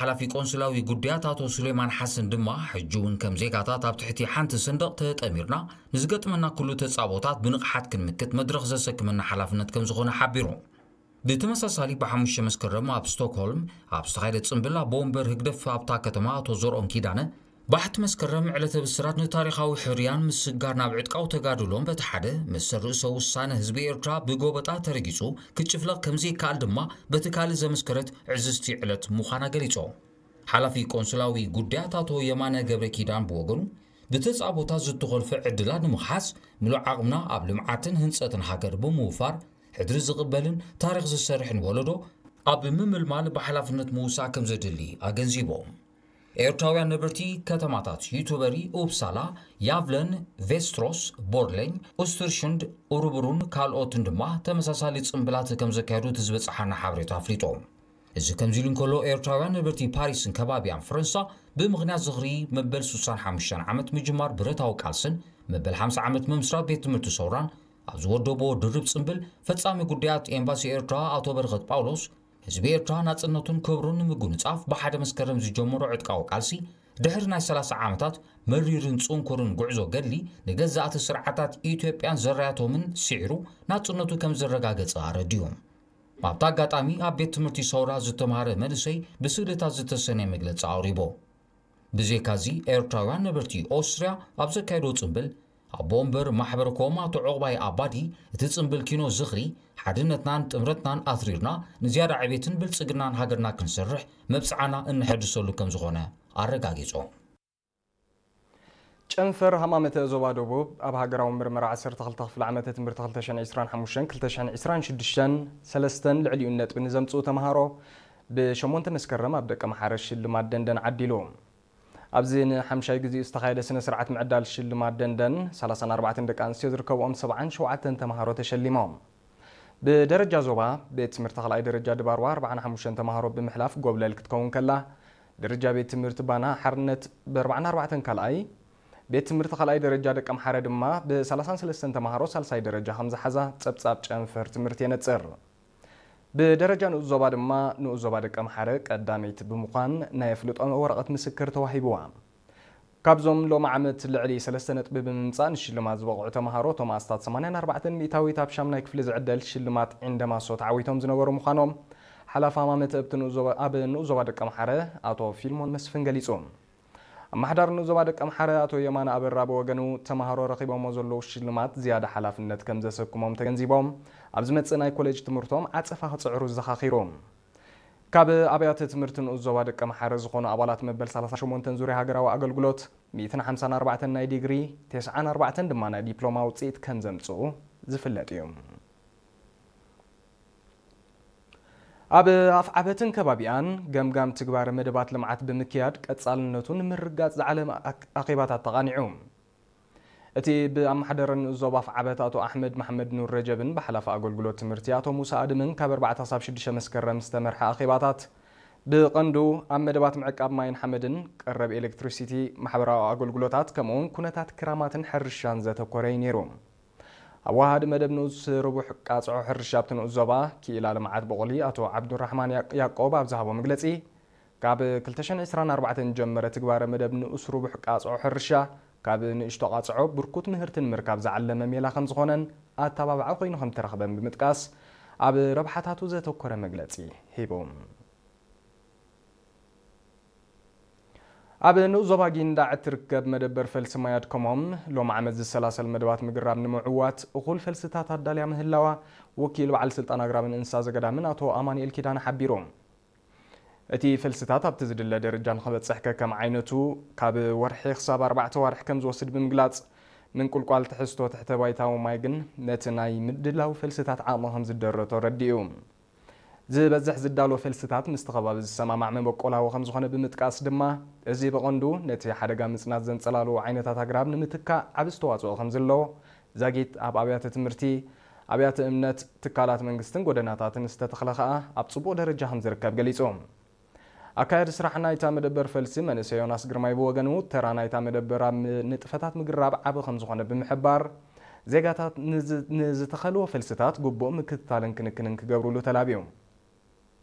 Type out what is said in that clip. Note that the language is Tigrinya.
ሓላፊ ቆንስላዊ ጉዳያት ኣቶ ሱሌማን ሓሰን ድማ፣ ሕጂ እውን ከም ዜጋታት ኣብ ትሕቲ ሓንቲ ሰንደቕ ተጠሚርና ንዝገጥመና ኩሉ ተጻቦታት ብንቕሓት ክንምክት መድረኽ ዘሰክመና ሓላፍነት ከም ዝኾነ ሓቢሩ። ብተመሳሳሊ ብሓሙሽተ መስከረም ኣብ ስቶክሆልም ኣብ ዝተኻየደ ጽምብል ኣቦ ወንበር ህግደፍ ኣብታ ከተማ ኣቶ ዘርኦም ኪዳነ፣ ባሕቲ መስከረም ዕለተ ብስራት ንታሪኻዊ ሕርያን ምስጋር ናብ ዕጥቃዊ ተጋድሎን በቲ ሓደ፣ መሰል ርእሰ ውሳነ ህዝቢ ኤርትራ ብጎበጣ ተረጊጹ ክጭፍለቕ ከምዘይከኣል ድማ በቲ ካልእ ዘመስከረት ዕዝዝቲ ዕለት ምዃና ገሊጾም። ሓላፊ ቆንስላዊ ጉዳያት ኣቶ የማነ ገብረ ኪዳን ብወገኑ፣ ብተጻቦታት ዝተኾልፈ ዕድላት ንምኽሓስ ምሉእ ዓቕምና ኣብ ልምዓትን ህንጸትን ሃገር ብምውፋር፣ ሕድሪ ዝቕበልን ታሪኽ ዝሰርሕን ወለዶ ኣብ ምምልማል ብሓላፍነት ምውሳእ ከም ዘድሊ ኣገንዚቦም። ኤርትራውያን ነበርቲ ከተማታት ዩቱበሪ፣ ኡፕሳላ፣ ያቭለን፣ ቬስትሮስ፣ ቦርሌኝ፣ ኡስተርሹንድ፣ ኡሩብሩን ካልኦትን ድማ ተመሳሳሊ ጽምብላት ከም ዘካየዱ እቲ ዝበጽሓና ሓበሬታ ኣፍሊጡ። እዚ ከምዚ ኢሉ እንከሎ፣ ኤርትራውያን ነበርቲ ፓሪስን ከባቢያን ፈረንሳ ብምኽንያት ዝኽሪ መበል ሱሳን ሓሙሽተን ዓመት ምጅማር ብረታዊ ቃልስን መበል ሓምሳ ዓመት ምምስራት ቤት ትምህርቲ ሰውራን ኣብ ዝወደቦ ድርብ ጽምብል፣ ፈጻሚ ጉዳያት ኤምባሲ ኤርትራ ኣቶ በረኸት ጳውሎስ፣ ህዝቢ ኤርትራ ናጽነቱን ክብሩን ንምጉንጻፍ ብሓደ መስከረም ዝጀመሮ ዕጥቃዊ ቃልሲ፣ ድሕሪ ናይ ሰላሳ ዓመታት መሪርን ጽንኩርን ጉዕዞ ገድሊ፣ ንገዛእቲ ስርዓታት ኢትዮጵያን ዘራያቶምን ስዒሩ ናጽነቱ ከም ዘረጋገጸ ኣረዲኡ። ኣብቲ ኣጋጣሚ፣ ኣብ ቤት ትምህርቲ ሰውራ ዝተምሃረ መንእሰይ ብስእልታት ዝተሰነየ መግለጺ ኣቕሪቡ። ብዘይካዚ፣ ኤርትራውያን ነበርቲ ኦስትርያ ኣብ ዘካየድዎ ጽምብል፣ ኣቦ ወንበር ማሕበረ ኮም ኣቶ ዑቕባይ ኣባዲ፣ እቲ ጽምብል ኪኖ ዝኽሪ ሓድነትናን ጥምረትናን ኣትሪርና ንዝያዳ ዕቤትን ብልጽግናን ሃገርና ክንሰርሕ መብጽዓና እነሐድሰሉ ከም ዝኾነ ኣረጋጊጾም። ጨንፈር ሃማመተ ዞባ ደቡብ ኣብ ሃገራዊ ምርመራ ዓሰርተ ክልተ ክፍለ ዓመተ ትምህርቲ ክልተ ሽሕን ዕስራን ሓሙሽተን ክልተ ሽሕን ዕስራን ሽዱሽተን ሰለስተን ልዕሊኡን ነጥቢ ንዘምጽኡ ተምሃሮ ብሸሞንተ መስከረም ኣብ ደቀምሓረ ሽልማት ደንደን ዓዲሉ። ኣብዚ ንሓምሻይ ግዜኡ ዝተኻየደ ስነ ስርዓት ምዕዳል ሽልማት ደንደን፣ ሰላሳን ኣርባዕተን ደቂ ኣንስትዮ ዝርከብኦም ሰብዓን ሸውዓተን ተምሃሮ ተሸሊሞም። ብደረጃ ዞባ፣ ቤት ትምህርቲ ካልኣይ ደረጃ ድባርዋ ኣርባዓን ሓሙሽተን ተምሃሮ ብምሕላፍ ጎብለል ክትከውን ከላ፣ ደረጃ ቤት ትምህርቲ ባና ሓርነት ብኣርባዓን ኣርባዕተን ካልኣይ፣ ቤት ትምህርቲ ካልኣይ ደረጃ ደቀምሓረ ድማ ብሰላሳን ሰለስተን ተምሃሮ ሳልሳይ ደረጃ ከም ዝሓዛ ጸብጻብ ጨንፈር ትምህርቲ የነጽር። ብደረጃ ንኡስ ዞባ ድማ ንኡስ ዞባ ደቀምሓረ ቀዳመይቲ ብምዃን ናይ ኣፍልጦ ወረቐት ምስክር ተዋሂብዋ። ካብዞም ሎሚ ዓመት ልዕሊ ሰለስተ ነጥቢ ብምምጻእ ንሽልማት ዝበቕዑ ተምሃሮ፣ እቶም ኣስታት ሰማንያን ኣርባዕተን ሚእታዊት ኣብ ሻምናይ ክፍሊ ዝዕደል ሽልማት ዒንደማሶ ተዓዊቶም ዝነበሩ ምዃኖም ሓላፊ ሃማመተ ኣብቲ ንኡስ ዞባ፣ ኣብ ንኡስ ዞባ ደቀምሓረ ኣቶ ፊልሞን መስፍን ገሊጹ። ኣመሓዳሪ ንኡስ ዞባ ደቀምሓረ ኣቶ የማነ ኣበራ ብወገኑ፣ ተምሃሮ ረኺቦሞ ዘለዉ ሽልማት ዝያዳ ሓላፍነት ከም ዘሰክሞም ተገንዚቦም፣ ኣብ ዝመጽእ ናይ ኮሌጅ ትምህርቶም ዓጸፋ ክጽዕሩ ዘኻኺሩ። ካብ ኣብያተ ትምህርቲ ንኡስ ዞባ ደቀምሓረ ዝኾኑ ኣባላት መበል ሰላሳ ሸሞንተን ዙርያ ሃገራዊ ኣገልግሎት፣ ሚእትን ሓምሳን ኣርባዕተን ናይ ዲግሪ፣ ተስዓን ኣርባዕተን ድማ ናይ ዲፕሎማ ውጽኢት ከም ዘምጽኡ ዝፍለጥ እዩ። ኣብ ኣፍዓበትን ከባቢኣን ገምጋም ትግባረ መደባት ልምዓት ብምክያድ ቀጻልነቱ ንምርግጋጽ ዝዓለመ ኣክ-፣ ኣኼባታት ተቓኒዑ። እቲ ብኣመሓደረ ንኡስ ዞባ ኣፍዓበት ኣቶ ኣሕመድ መሓመድ ኑር ረጀብን ብሓላፊ ኣገልግሎት ትምህርቲ ኣቶ ሙሳ ኣድምን ካብ ኣርባዕተ ክሳብ ሽዱሽተ መስከረም ዝተመርሐ ኣኼባታት፣ ብቐንዱ ኣብ መደባት ምዕቃብ ማይን ሓመድን፣ ቀረብ ኤሌክትሪሲቲ፣ ማሕበራዊ ኣገልግሎታት፣ ከምኡውን ኩነታት ክራማትን ሕርሻን ዘተኮረ እዩ ነይሩ። ኣብ ወሃዲ መደብ ንኡስ ርቡሕ ቃጽዖ ሕርሻ ኣብቲ ንኡስ ዞባ ክኢላ ልምዓት ብቑሊ ኣቶ ዓብዱራሕማን ያቅ-፣ ያቆብ ኣብ ዝሃቦ መግለጺ፣ ካብ ክልተ ሽሕን ዕስራን ኣርባዕተን ዝጀመረ ትግባረ መደብ ንኡስ ርቡሕ ቃጽዖ ሕርሻ፣ ካብ ንእሽቶ ቃጽዖ ብርኩት ምህርቲ ንምርካብ ዝዓለመ ሜላ ከም ዝኾነን ኣተባባዒ ኮይኑ ከም እተረኽበን ብምጥቃስ፣ ኣብ ረብሓታቱ ዘተኮረ መግለጺ ሂቡ። ኣብ ንኡስ ዞባ ጊንዳዕ እትርከብ መደበር ፈልሲ ማይ ኣድከሞም፣ ሎም ዓመት ዝሰላሰል መደባት ምግራብ ንምዕዋት እኹል ፈልስታት ኣዳልያ ምህላዋ ወኪል በዓል ስልጣን ኣግራብን እንስሳ ዘገዳምን ኣቶ ኣማኑኤል ኪዳነ ሓቢሩ። እቲ ፈልስታት ኣብቲ ዝድለ ደረጃ ንኽበጽሕ ከከም ዓይነቱ ካብ ወርሒ ክሳብ ኣርባዕተ ዋርሕ ከም ዝወስድ ብምግላጽ፣ ምንቁልቋል ትሕዝቶ ትሕተ ባይታዊ ማይ ግን ነቲ ናይ ምድላው ፈልስታት ዓቕሚ ከም ዝደረቶ ረዲኡ። ዝበዝሕ ዝዳሎ ፈልስታት ምስቲ ከባቢ ዝሰማማዕ መበቆላዊ ከም ዝኾነ ብምጥቃስ ድማ፣ እዚ ብቐንዱ ነቲ ሓደጋ ምጽናት ዘንጸላልዉ ዓይነታት ኣግራብ ንምትካእ ዓቢ ኣስተዋጽኦ ከም ዘለዎ፣ ዛጊት ኣብ ኣብያተ ትምህርቲ፣ ኣብያተ እምነት፣ ትካላት መንግስትን ጎደናታትን ዝተተኽለ ከኣ ኣብ ጽቡቕ ደረጃ ከም ዝርከብ ገሊጹ። ኣካያዲ ስራሕ ናይታ መደበር ፈልሲ መንእሰይ ዮናስ ግርማይ ብወገኑ፣ ተራ ናይታ መደበር ኣብ ም-፣ ንጥፈታት ምግራብ ዓቢ ከም ዝኾነ ብምሕባር፣ ዜጋታት ንዝ-፣ ንዝተኸልዎ ፈልስታት ግቡእ ምክትታልን ክንክንን ክገብሩሉ ተላብዩ።